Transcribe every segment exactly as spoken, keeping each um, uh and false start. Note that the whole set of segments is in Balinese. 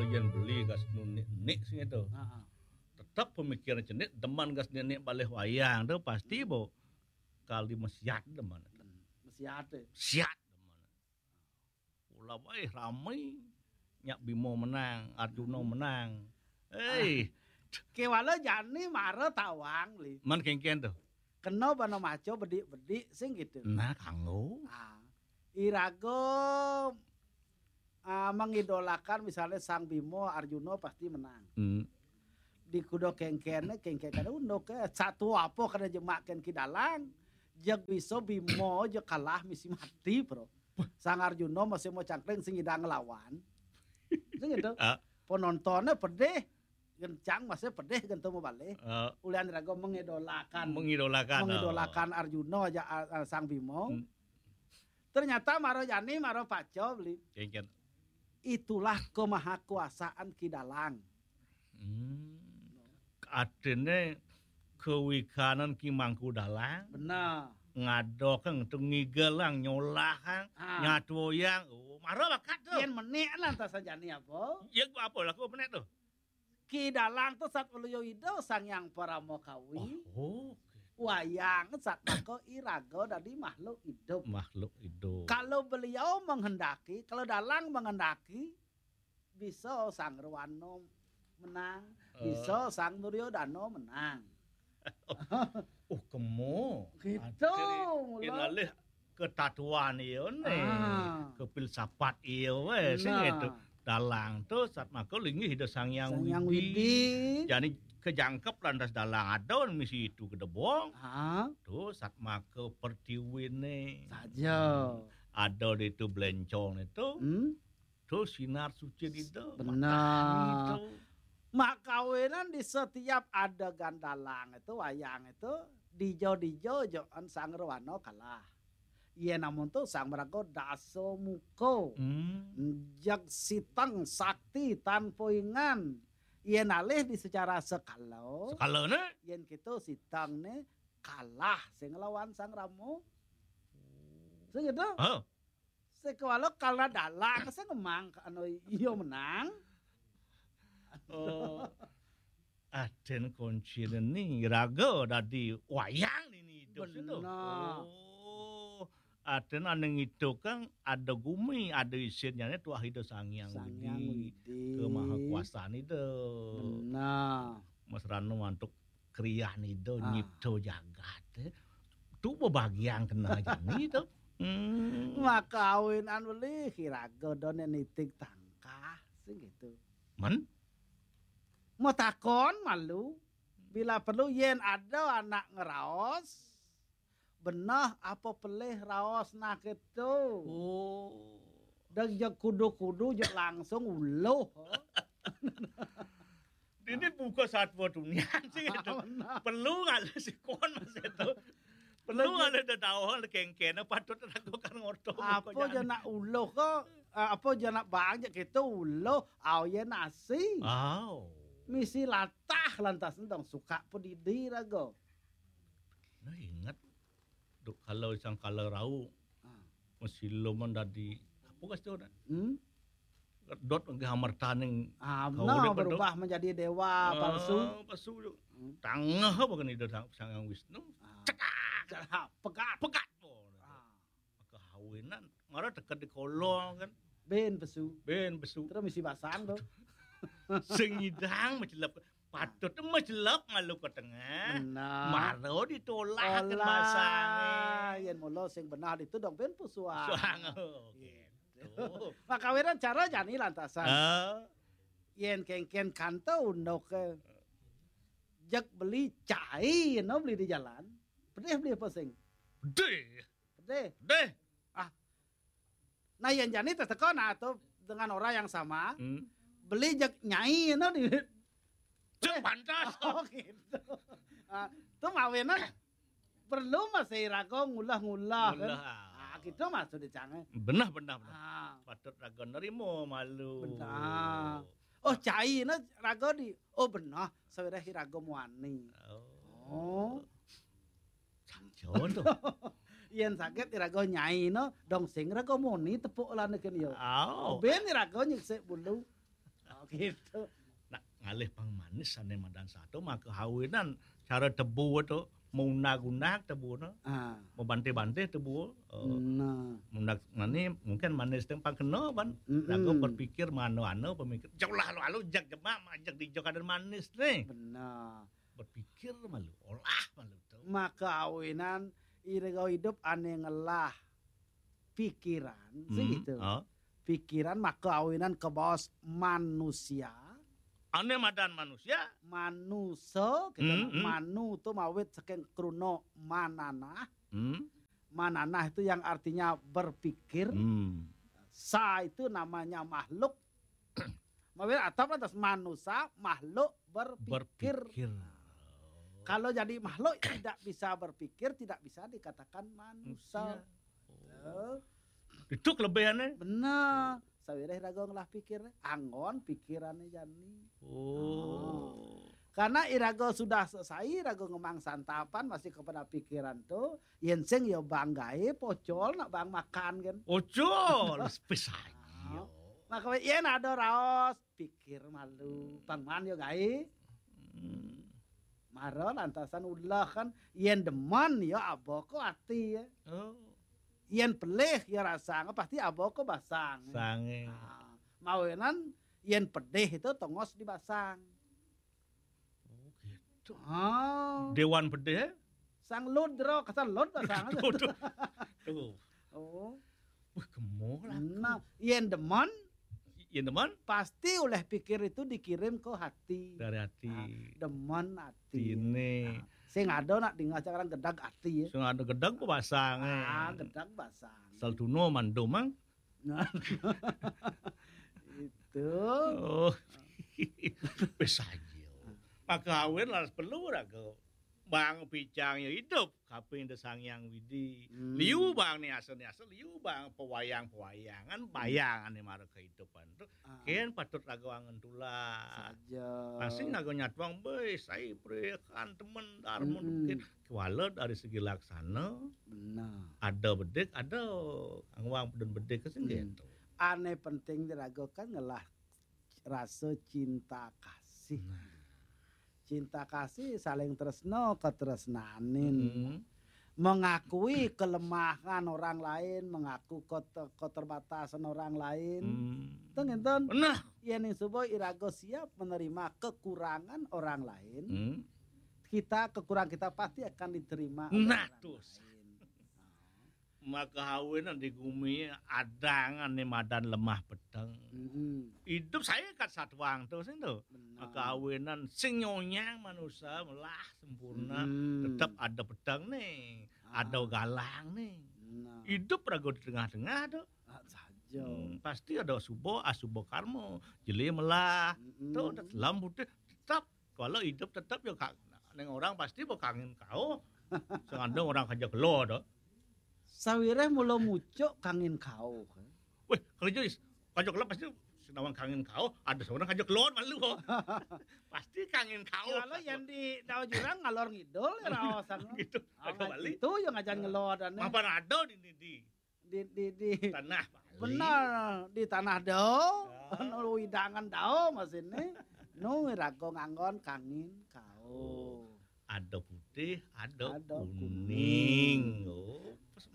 Yén beli gas nunik-nik sing itu. Heeh. Tetep pemikiran cenik demen gas nenek balih wayang tu pasti bo kali mesiat demen. Hmm, mesiat tu. Siat demen. Ula bae ramai nyak Bima menang, Arjuna menang. Hei, kewala jani mara tawang li. Man kengken tu. Kena bana maca bedik-bedik sing gitu. Nah, kanggo. Ah, iraga ah, mengidolakan misalnya Sang Bima, Arjuna pasti menang. Hmm. Di kuda kengken, kengken kada unduk ke. Satu apa kada jemaken Ki Dalang. Jeg bisa Bima je kalah misi mati, bro. Sang Arjuna masih mau cangkring sing idang ngelawan. Sing gitu. Ah. Penontonnya pedih. Gencang masih pedih gentu mau balik. Ah. Ulian raga mengidolakan. Mengidolakan, Mengidolakan oh. Arjuna aja ah, ah, Sang Bima. Hmm. Ternyata maro jani maro paco beli. Kengken. Itulah kemahakuasaan Ki Dalang. Hmm. Artine kewikanan Ki Mangku Dalang. Benar. Ngadokeng tu ngigelang nyolahang ah. Nyatuoyang. Oh, maro bakat tu. Yen menek lah entah sajani apa. Ya apa laku menek tu. Ki Dalang tu sat uluyo ida Sang Hyang Parama Kawi. Oh, oh. Wayang sat maka iraga dadi makhluk hidup. Makhluk hidup. Kalau beliau menghendaki, kalau Dalang menghendaki, bisa Sang Rwana menang, eh. Bisa Sang Duryodana menang. Oh, kemo. Gitu, mula. Alih ketatuan iya ne. Ah. Kepilsafat iya we sing nah. Itu. Dalang tu sat maka linggih ida Sang Hyang Widi. Jani kejangkep lantas dalang ada misi itu kedebong. Ah. Tu sat maka pertiwine. Saja. Ada di itu belencong itu. Hmm? Tu sinar suci dida. Benar. Makawinan di setiap adegan dalang itu, wayang itu, dijo-dijo joan Sang Rwana kalah. Iya namun tu Sang Meraga dasa muka. Hmm. Jeg siteng sakti tanpa ingan. Iya nalih di secara sekala. Sekala ne? Yen kita siteng ne kalah sing lawan Sang Rama. Sing gitu? Oh. Sekewala kala dalang sing ngemang anu iya menang. Oh. Aden kuncine ni raga dadi wayang nini hidup situ. Benar. Oh. Aden ane ngitu kan ada gumi, ada isinnya ni tuah ida Sang Hyang Sang Hyang Widi. Widi. Kemahakuasaan ida. Benar. Mas Ranu mantuk kriah nida ah. Nyipta jagat. Tu bebagian kena jani tu. Hmm. Maka awinan beli kiraga done nitik tangkah sing gitu. Men? Mau takon malu. Bila perlu yen ada anak ngeraos, benah apa pelih raos nah gitu. Oh. Dan je kudu-kudu je langsung uluh. Ini buka satwa dunia sih gitu. Perlu ngalih si kon mas itu. Perlu ngalih dah tahu kengkena patut lakukan ngorto. Apa je nak uluh kok? Eh, apa je nak bang je gitu uluh. Au ye nasi. Au. Misi latah lantas entong suka pedidi raga. Nah ingat duk kalau sang kala rau ah. Mesti luman dadi apa kas tu dah? Hmm? Dot nggih amertaning ah, benar berubah menjadi dewa ah, palsu. Palsu tu. Hmm. Tangah apa kan ida sang Hyang Wisnu? Ah. Cedak. Cedak pegat. Pegat. Ah. Maka hawinan mara teka di kolong kan. Ben pesu. Ben pesu. Terus misi basang tu. Sing idang macelep. Patut tu macelep malu ke tengah. Benar. Mara ditolak kan basang. Yen mula sing benar itu dong ben pesuang. Pesuang. Oh, gitu. Makawiran cara jani lantasan. Ah. Yen kengken kanto undok ke. Jek beli cai no beli di jalan. Pedih beli apa sing? Pedih. Pedih. Pedih. Ah. Nah, yang jani teteko nah tu dengan orang yang sama. Hmm. Beli jek nyai no di. Cek pantas. Oh gitu. Ah, tu mawinan perlu masih raga ngulah-ngulah kan. Ngulah. Ah, gitu maksud dicangai. Benar benar benar. Ah. Patut raga nerima malu. Benar. Oh, cai no raga di. Oh benar, sawirah raga muani. Oh. Oh. Sanjo tu. Yen sakit iraga nyai no, dong sing raga muni tepuk lan ken yo. Au. Ben iraga nyeksik bulu. Oh, gitu. Nak ngalih pang manis ané madan sato, maka awinan cara tebu to, maunag-unag tebu to, ah, mabantih-bantih tebu. Eh, nah, maunag manis, mungkin manis té pang kena ban. Mm-mm. Lagu berpikir mano-ano pemikir. Jauh lah lalu, lalu jak jemak, jak di jak ada manis nih. Benar. Berpikir malu, olah malu to. Maka awinan iraga idup ané ngelah pikiran, hmm, segitu. Oh. Pikiran maka awinan kebaos manusia. Ané madan manusia? Manusa, gitu. Hmm, nah, hmm. Manu tu mawit saking kruna mananah. Hmm. Mananah itu yang artinya berpikir. Hmm. Sa itu namanya makhluk. Mawit atap atas manusia, makhluk berpikir. Berpikir. Kalau jadi makhluk tidak bisa berpikir, tidak bisa dikatakan manusia. Manusia. Oh. Itu kelebihannya. Benar. Sawiréh raga ngelah pikir, anggon pikirannya jani. Oh. Karena iraga sudah selesai, iraga ngemang santapan, masih kepada pikiran tuh, yén sing ya bang gaé pocol, nak bang makan kan. Pocol, spes aja. Maka yén ada raos, pikir malu, pang man ya gaé. Hmm. Mara lantasan ulah kan, yén demen ya aba ka ati ya. Oh. Yén pelih ya rasang, pasti aba ka basang. Sangé. Ah, mawinan yén pedih itu tongos di basang. Oh, gitu. Ah. Dewan pedih, eh? Sang lud ro, kasar lud basang. Tuh, tuh. Tuh. Oh. Wah, kemo lah. Nah, yén demen, yén demen, pasti oleh pikir itu dikirim ke hati. Dari hati. Ah, demen hati. Ini. Nah, sing ada nak dingeh sekarang gedag ati ya. Sing ada gedag ku basang, eh. Ah, gedag basang. Saltuno mandum, mang. Nah. Itu. Oh. Wis aja. Maka awin laras perlu raga. Bang picang ya hidup, kaping da Sang Hyang Widi. Hmm. Liu bang ni asa-ni asa, liu bang pewayang-pewayangan, hmm, bayangan ni mara kehidupan tu. Ah. Kén patut raga angen tulah. Saja. Pasti raga nyatuang, "Béh, sai prekan temen, dar mun." Mm-mm. Mungkin kuala dari segi laksana. Benar. Ada bedik, ada anguang peden bedik ke sing, hmm, gitu. Ané penting di raga kan ngelah rasa cinta kasih. Nah. Cinta kasih saling tresna, katresnanin. Mm-mm. Mengakui kelemahan orang lain, mengaku keter-, keterbatasan orang lain. Hmm. Teng enten. Nah. Yén ning suba iraga siap menerima kekurangan orang lain, hmm, kita, kekurangan kita pasti akan diterima oleh, nah, orang lain. Nah. Maka awinan di gumi adangan ni madan lemah peteng. Mm-mm. Idup saya kat satuang tu sing tu. Benar. Maka awinan sing nyonyang manusia melah sempurna, mm-mm, tetap ada peteng ni, ah, ada galang ni. Benar. Idup raga di tengah-tengah tu. Ah, saja. Hmm, pasti ada suba, asuba karma. Jeli melah. Mm-mm. Tu dalam putih tetap. Kalau idup tetap ya kak, neng orang pasti bakangin kau. Sing ada orang kaja kelo tu. Sawiréh mula mucuk kangin kauh. Wéh, kalau jadi kaja kelo pasti senawang kangin kauh, ada seorang kaja kelo malu. Pasti kangin kauh. Kalau yang di Dawa Jurang ngalor ngidul ya raosan. Gitu. Ah, agak balik. Itu yang ngajan ngelor dan mapan ada di, di, di, di, di, di tanah Bali. Benar, di tanah dao, ah, anu widangan dao masih ni. Nu raga nganggon kangin kauh. Ada putih, ada, ada kuning. Kuning. Oh.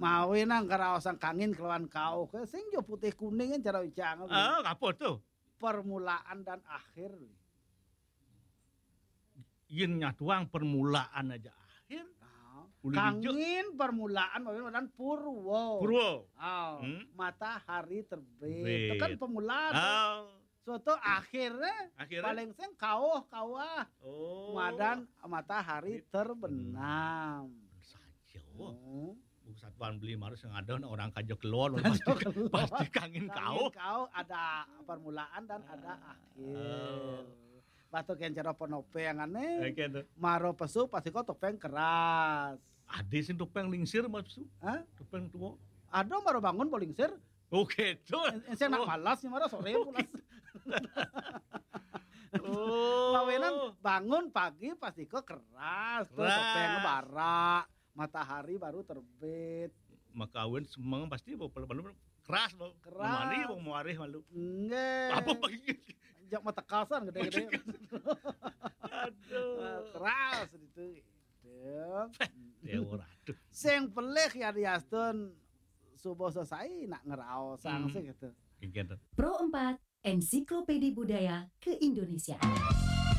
Mawinan karaosan kangin kelawan kauh. Sing jo putih kuning kan cara ucang. Ah, apa tu? Permulaan dan akhir. Yén nyatuang permulaan aja akhir. Ah. Ulih dijak. Kangin permulaan mawinan purwa. Purwa. Ah, hmm? Matahari terbit. Terbit. Itu kan permulaan. Ah. Suatu akhirnya, akhirnya? Paling sing kauh, kauh. Oh. Madan matahari terbenam. Saja. Hmm. Buku satuan beli marus yang ada orang kaja keluar, kaja pasti, keluar. Pasti kangin kauh. Kangin kauh ada permulaan dan ada akhir. Oh. Batu kencer apa nopeng aneh. Oke tu. Maro pesu pasti kau topeng keras. Ada sih topeng lingsir, Mas Pesu. Hah? Topeng tua. Ada maro bangun bolingsir. Oke tu. Ensé nak malas nih mara soré pulas. Oh. Lawenan bangun pagi pasti kok keras, tuh, keras. Topeng bara, matahari baru terbit. Maka awen semeng pasti bawa pelu-pelu keras, bawa. Keras. Mari bawa muarih malu. Enggak. Apa pagi? Jak Tekasan gedé-gedé. Aduh. Keras itu. Gitu. Ya ora, aduh. Sing pelih ya diastun subuh sesai nak ngeraosang Hmm. sih gitu. Gitu. Pro empat, Ensiklopedi Budaya Keindonesiaan.